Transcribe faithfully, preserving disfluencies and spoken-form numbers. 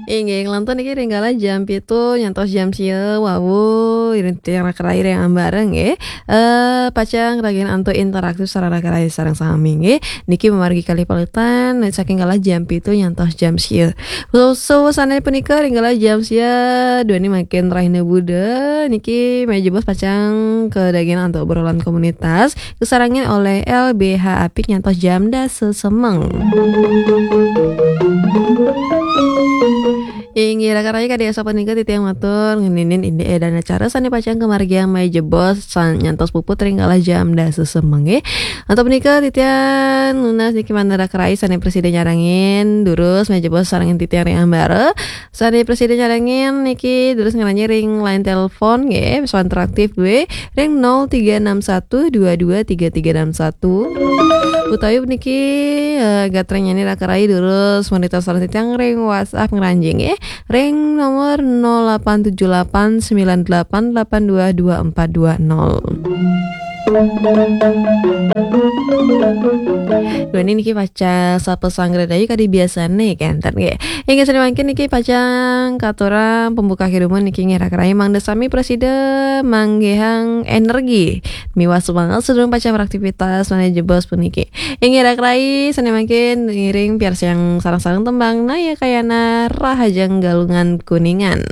Inggih, ngelantur niki ring galah jam pitu nyantos jam sia wau, iring titiang raka rai ring ambara nggih. Eh, pacang ngragin antuk interaktif sareng raka rai sareng sami nggih. Niki mamargi kalih palitan saking galah jam pitu nyantos jam sia. So, so, sané punika ring galah jam sia duaning mangkin rahina Buda niki meja bos pacang kadaging antuk obrolan komunitas kasarengin olih L B H apik nyantos jam dasa semeng. Inggih raka rai, kadi asapunika titiang matur ngeninin indik dan acara sané pacang kamargiang meja bos san-, nyantos puput ring galah jam dasa semeng nggih. Antuk punika titiang nunas niki manah raka rai sané prasida nyarengin durus meja bos sarengin titiang ring ambara. Sané prasida nyarengin niki durus ngranjing ring line telepon nggih, soal interaktif nggih, ring nol tiga enam satu dua dua tiga tiga enam satu. Utawi niki, eh, gatrang nyarengin raka rai durus monitor sareng titiang ring WhatsApp ngranjing nggih, ring nomor nol delapan tujuh delapan sembilan delapan delapan dua dua empat dua nol. Duaning niki pacang sapa sanggra dayu kadi biasané kénten nggih. Inggih sané mangkin niki pacang katurang pembuka kedumun niki nggih raka rai, mangda sami prasida manggihang energi miwah semangat sadurung pacang beraktivitas meja bos puniki. Inggih raka rai, sané mangkin ngiring piarsayang sareng-sareng tembang Naya Kayana Rahajeng Galungan Kuningan.